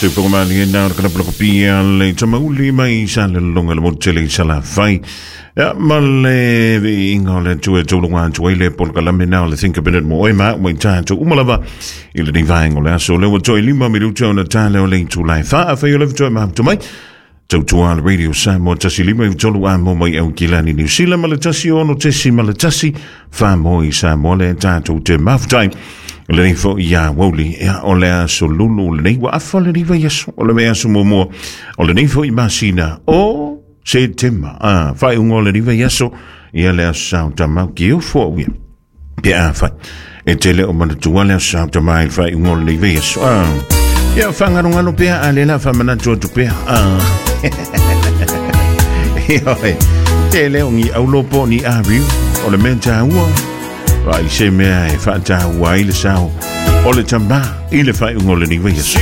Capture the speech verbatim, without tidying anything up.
Soifuaga maliega o le kalapalakapia le tamauli mai sa le lologa le motu tele i Salafai. Ia ma le viiga o le Atua e taulaga atu ai le polokalame na o le Think About It mo oe ma au ma i tatou uma lava i lenei vaega o le aso. Lea ua toe lima minuta ona tale o le itula e fa. Afai o le faatoa mafuta mai, tautua le Radio Samoa tasi lima i tolu a mo mai Aukilani Niu Sila ma le tasi ono tesi ma le tasi fa mo i Samoa le tatou te mafutai. Lenei foi ia Woli, ia o le aso lulu lenei ua afa lenei vaiaso o le vaiaso muamua o lenei foi masina o Setema. Ah, faaiuga o lenei vaiaso ia le aso sao tamau ki ufo au ia. Pe a fai. E tele o manatua le aso sao tamai i le faaiuga o lenei vaiaso. Ah. Ia whangarongaro pea a le la whamanatu atu pea. Ah. Ioe. Te leo ni aulopo ni ariu o le mea tāua. Vai se mea e whaataua ai le sao o le tamā i le faaiuga o lenei vaiaso.